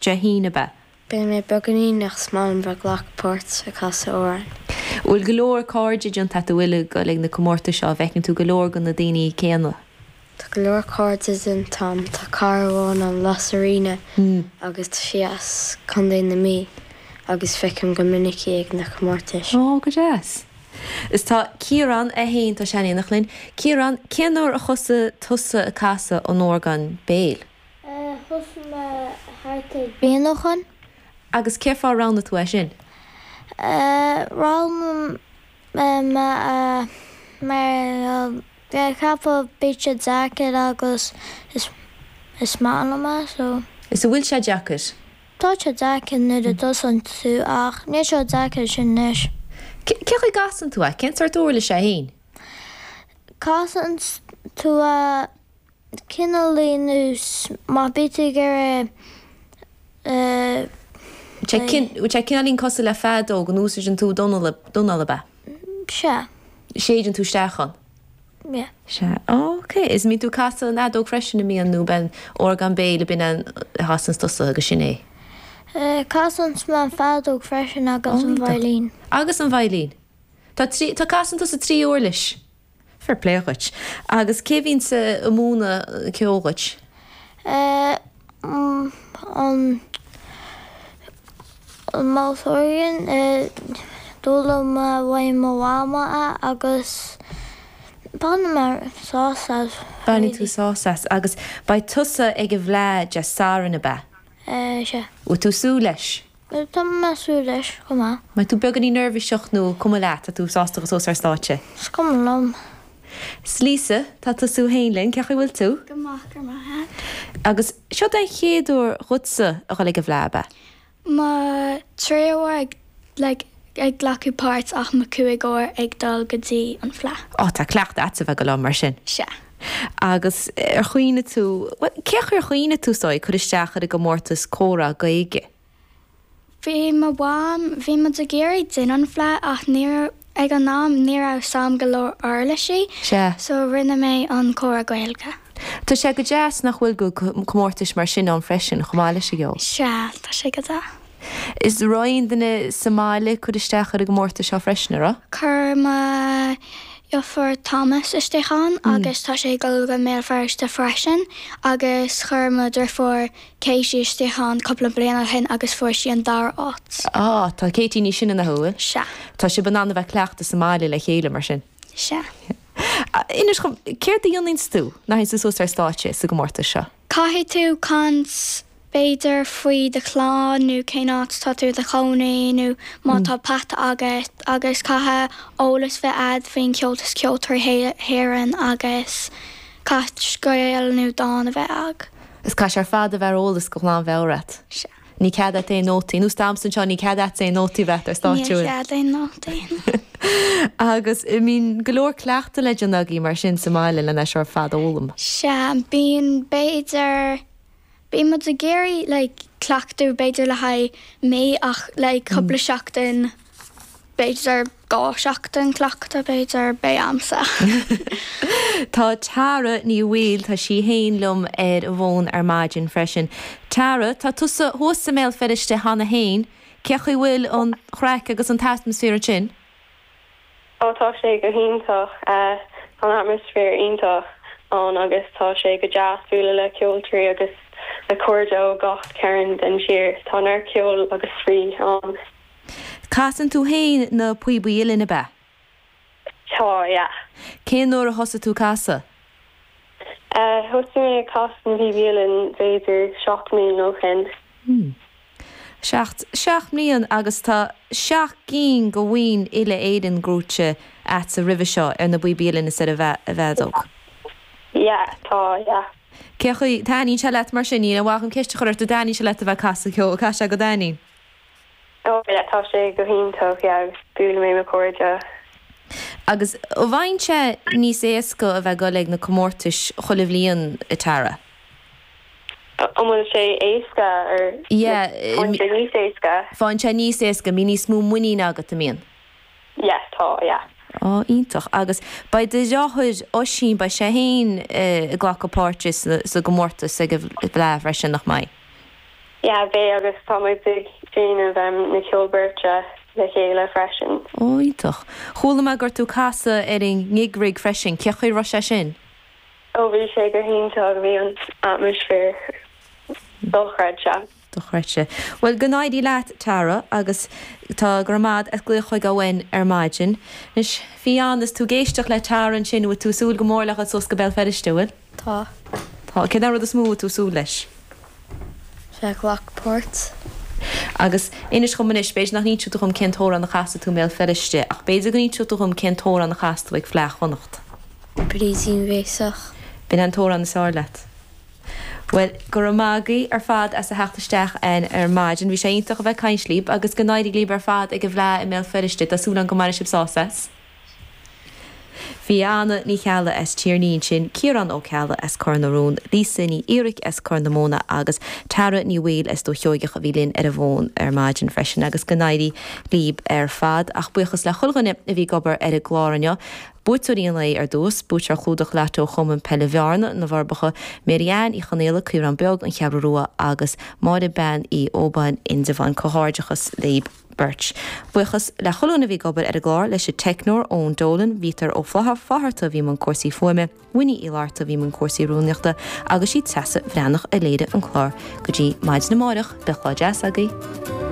Dé hAoine, ab ea? Beidh mé beagáinín ach is maith liom bheith ag glacadh páirt ag casadh amhráin. Bhfuil go leor cairde déanta agat an bhfuil ag dul ag na comórtais seo, an bhfeiceann tú go leor de na daoine céanna? Tá go leor cairde déanta agam, tá cara amháin agam, Lasarina, agus tá sí as Contae na Mí agus feicim go minic í ag na comórtais. Ó, go deas. Is tá Ciarán é féin, tá sé in éineacht linn. Ciarán, cén uair a thosaigh tusa ag casadh an orgán béil? Thosaigh mé thart ar bliain ó shoin. Agus cé fáth ar roghnaigh tú é sin? Roghnaigh mé é mar bhí mé ag ceapadh bíonn sé deacair agus is maith liom é so. Is an bhfuil sé deacair? Tá sé deacair nuair a dtosaíonn tú ach níl sé chomh deacair sin anois. Cé chaoi a gcasann tú é? Cén sórt uirlis é féin? Casann tú é cineáilín nós má bhí tú ag iarraidh Bhfuil sé cineáilín cosúil le feadóg, an úsáideann tú d'anáil ab ea? Sea. Séideann tú isteach ann? Yeah. Sea. Ok. Is an mbíonn tú ag casadh an fheadóg freisin, an mbíonn, nó ab é an orgán béil ab in é a chasanns tusa agus sin é? Casann mé an feadóg freisin agus an veidhlín. Agus an veidhlín. Tá trí, tá casann tusa trí uirlis. Fair play dhuit. Agus cé bhíonns ag múineadh ceoil dhuit? An mouth organ, d'fhoghlaim mé uaidh mo mhama é agus bainim sásamh as. Baineann tú sásamh as. Agus beidh tusa ag an bhFleadh Dé Sathairn, ab ea? Sea. Bhfuil tú ag súil leis? Tá mé ag súil leis chomh maith. Mbeidh tú beagáinín neirbhíseach nó cuma leat, tá tú sásta dhul suas ar stáitse? Is cuma liom. 'S Lisa, tá tusa féin linn, cén chaoi a bhfuil tú? Go maith, go raibh maith a't. Agus seo den chéad uair dhuitsa a dhul ag an bhFleadh, ab ea? Mo tríú uair ag, like, ag glacadh páirt ach mo cúig uair ag dul go dtí an Fleadh. Ó, tá cleachtadh a'dsa bheith ag dul ann mar sin. Sea. Agus ar chuimhnigh tú, bhuel, cé chaoi ar chuimhnigh tú, is dóigh, cur isteach ar an gcomórtas comhrá Gaeilge? Bhí mo mham, bhí muid ag iarraidh déanamh an Fleadh ach ní raibh, ag an am ní raibh 's a'm go leor uirlisí Sea. so rinne mé an comhrá Gaeilge. Tá sé go deas nach bhfuil go comórtais mar sin ann freisin chomh maith leis an gceol. Sea, tá sé go deas. Is raibh aon duine sa mbaile ag cur isteach ar an gcomórtas seo freisin, an raibh? Chuir mo dheirfiúr Thomas isteach ann agus tá sé ag dul go mBéal Feirste freisin agus chuir mo dheirfiúr Katie isteach ann cúpla bliain ó shin agus fuair sí an dara háit. Á, tá Katie níos sine ná thú, an bhfuil? Sea. Tá sibh in ann a bheith ag cleachtadh sa mbaile le chéile mar sin? Sea. Inis dhom, céard a dhéananns tú nuair a théanns tú suas ar stáitse sa gcomórtas seo? Caithfidh tú caint b'fhéidir faoi do chlann nó cén áit tá tú i do chónaí nó má tá peata agat agus caithfidh eolas bheith a'd faoin Cheoltas Ceoltóirí hÉireann agus caithfidh scéal nó dán a bheith a'd. Is caithfidh sé ar fad a bheith ar eolas go ghlanmheabhair a't. Sea. Ní cead a't aon nótaí. Nós domsa anseo, ní cead a'tsa aon nótaí a bheith a't ar stáitse. Ní cead aon nótaí. Agus mbíonn go leor cleachtadh le déanamh agaibh mar sin sa mbaile lena seo ar fad a fhoghlaim. Sea, bíonn, b'fhéidir, bíonn muid ag iarraidh like cleachtadh b'fhéidir le haghaidh mí ach like cúpla seachtain B'fhéidir 2 seachtain cleachtadh, b'fhéidir, beidh a'msa. Tá Tara Ní Bhaoill, tá sí féin liom ar an bhfón ar maidin freisin. Tara, tá tusa thuas i mBéal Feirste cheana féin, cé chaoi bhfuil an chraic agus an t-atmaisféar ansin? Ó tá sé go hiontach. Tá an atmaisféar iontach ann agus tá sé go deas bualadh le ceoltóirí agus le cairde ó gach cearn den tír. Tá neart ceoil agus spraoi ann. Casann tú féin na píobaí uilleann, ab ea? Tá, yeah. Cén uair a thosaigh tú ag casadh? Thosaigh mé ag casadh na bpíobaí uilleann b'fhéidir 7 mbliana ó shin. Hmm. Seacht, seacht mbliana agus tá seacht gcinn de bhoinn uile-Éireann gnóite a'dsa roimhe seo ar na bpíobaí uilleann is ar an bhfeadóg. Yeah, tá, yeah. Cé chaoi, taitníonn sé leat mar sin, níl aon mhaith dhom ceist a chur ort, an dtaitníonn sé leat a bheith ag casadh ceoil, caithfidh sé go dtaitníonn? Oh yeah, tá sé go hiontach, yeah, agus buaileann mé mo chairde. Agus an bhfaigheann sé níos éasca a bheith ag dul ag na comórtais chuile bhliain, a Tara? An bhfuil sé éasca or Yeah, faigheann sé níos éasca? Faigheann sé níos éasca, mbíonn níos mó muiníne agat, an mbíonn? Yeah, tá, yeah. Á, iontach. Agus beidh do dheartháir Oisín, beidh sé féin ag glacadh páirte sa gcomórtas ag an bhFleadh freisin, nach mbeidh? Yeah, beidh agus tá muid ag déanamh na ceol beirte le chéile freisin. Ó, iontach. Chuala mé go raibh tú ag casadh ar an ngig rig freisin, cé chaoi a raibh sé sin? Ó, bhí sé go hiontach, bhí an atmaisféar dochreidte. Dochreidte. Bhuel, go n-éirí leat, Tara, agus tá, go raibh maith agat as glaoch chuig againn ar maidin. Anois, Fionn, is tú ag éisteacht le Tara ansin, bhfuil tú ag súil go mór le dhul suas go Béal Feirste, bhfuil? Tá. Tá. Céard é an rud is mó a bhfuil tú ag súil leis? Bheith ag glacadh páirt. Agus inis dhom anois, b'fhéidir nach n-inseoidh tú dhom cén t-amhrán a chasfaidh tú i mBéal Feirste, ach b'fhéidir go n-inseoidh tú dhom cén t-amhrán a chas tú ag Fleadh Chonnacht. Brídín Bhéasach. B'in an t-amhrán is fearr leat. Bhuel, go raibh maith agaibh ar fad as a theacht isteach againn ar maidin. Bhí sé iontach a bheith ag caint libh agus go n-éirí libh ar fad ag an bhFleadh i mBéal Feirste. Tá súil agam go mbainfidh sibh sásamh as. Bhí Anna Ní Cheallaigh as Tír an Fhia ansin, Ciarán Ó Ceallaigh as Cor na Rón, Lisa Ní Fhiaraic as Corr na Móna agus Tara Ní Bhaoill as Dumha Sheoigeach a bhí linn ar an bhfón ar maidin freisin agus go n-éirí líb ar fad. Ach buíochas le chuile dhuine a bhí ag obair ar an gclár inniu. Buaiteoirí an lae ar dtús, buaiteoir chlúdach Lotto Chumann Peile Bhearna, Na Forbacha, Mary Ann Uí Chonaola, Caorán Beag, An Cheathrú Rua agus Máire Bean Uí Óbáin, Indreabhán. Comhghairdeachas libh. beirt. Buíochas le chuile dhuine a bhí ag obair ar an gclár, leis an teicneoir, Eoin Dolan, Bhítear Ó Flatharta a bhí i mbun cúrsaí fuaime, Winnie Uí Fhlatharta a bhí i mbun cúrsaí rúnaíochta agus sí Treasa Bhreathnach a léirigh an clár. Go dtí maidin amárach, beidh lá deas agaibh.